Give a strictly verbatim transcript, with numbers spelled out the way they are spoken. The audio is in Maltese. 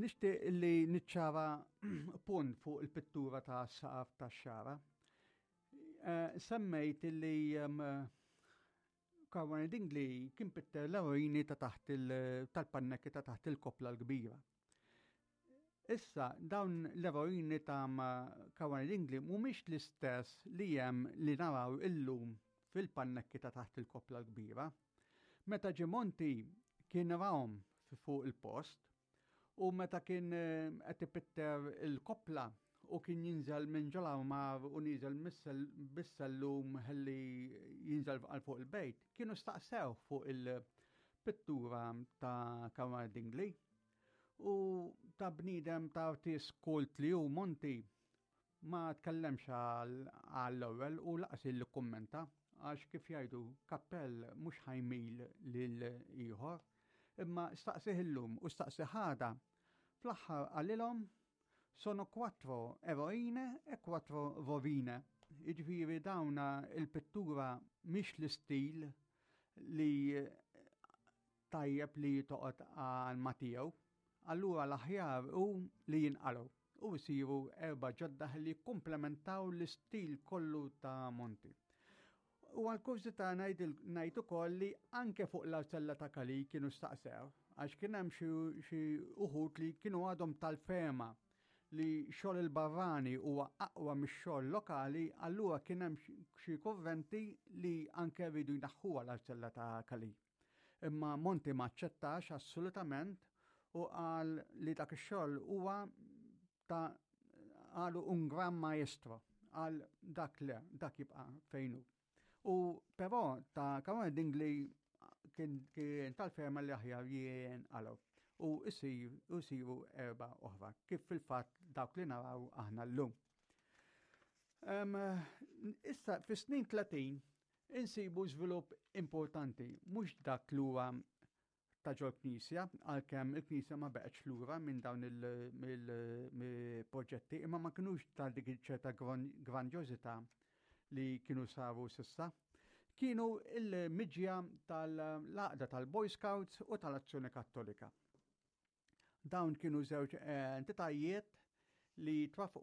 Nixtieq li niċċara punt fuq il-pittura ta' saqaf ta' Xagħra. Eh, semmejt li Caruana Dingli kien pitter l-eroini ta' taħt tal-pannekki ta' taħt il-koppla l-kbira. Issa, dawn l-eroini ta' Caruana Dingli mhumiex l-istess li hemm li naraw illum fil-pannekki ta' taħt il-koppla l-kbira. Meta ġie Monti kien rahom fuq il-post u meta kien eh, qed ipitter il-koppla u kien jinżel minn ġol-armar u niżel bis-sellum ħalli jinżel għal fuq il-bejt, kienu staqsew fuq il-pittura ta' Caruana Dingli u ta' bniedem ta' artist kult li hu Monti ma tkellemx għall-ewwel u lanqas li kummenta, għax kif jgħidu, kappell mhux ħa jmil lil ieħor, imma staqsih illum u staqsih għada, fl-aħħar qalilhom: "Sono quattro eroine e quattro rovine." Jiġifieri dawna il-pittura mhix l-istil li tajjeb li toqgħod għal ma tiegħu. Allura l-aħjar hu li jinqalgħu u jsiru erba' ġodda li komplementaw l-istil kollu ta' Monti. U għal-kurżità ngħid ukoll li anke fuq l-arzella ta' Kali kienu staqsew, għax kien hemm xi uħud li kienu għadhom tal-fehma li xogħol il-barrani huwa aqwa mix-xogħol lokali, allura kien hemm xi kurrenti li anke rridu jnaħħuha l-arzella ta' Kali. Imma Monti ma aċċettax assolutament u qal li dak ix-xogħol huwa ta' qalu un gran maestro, qal dak le, dak jibqa' fejn hu. U però ta' Caruana Dingli kien, kien tal-fehma li aħjar jinqalgħu u jsiru erba' oħra, kif fil-fatt dawk li naraw aħna llum. Um, issa, fi snin tletin, insibu żvilupp importanti, mhux dak li huwa ta' ġol knisja, għalkemm il-knisja ma baqgħetx lura minn dawn il-proġetti, imma ma kinux ta' dik ċerta grandjożità li kienu saru s'issa. Kienu il-miġja tal-għaqda tal-Boy Scouts u tal-Azzjoni Kattolika. Dawn kienu żewġ entitajiet li twafqu.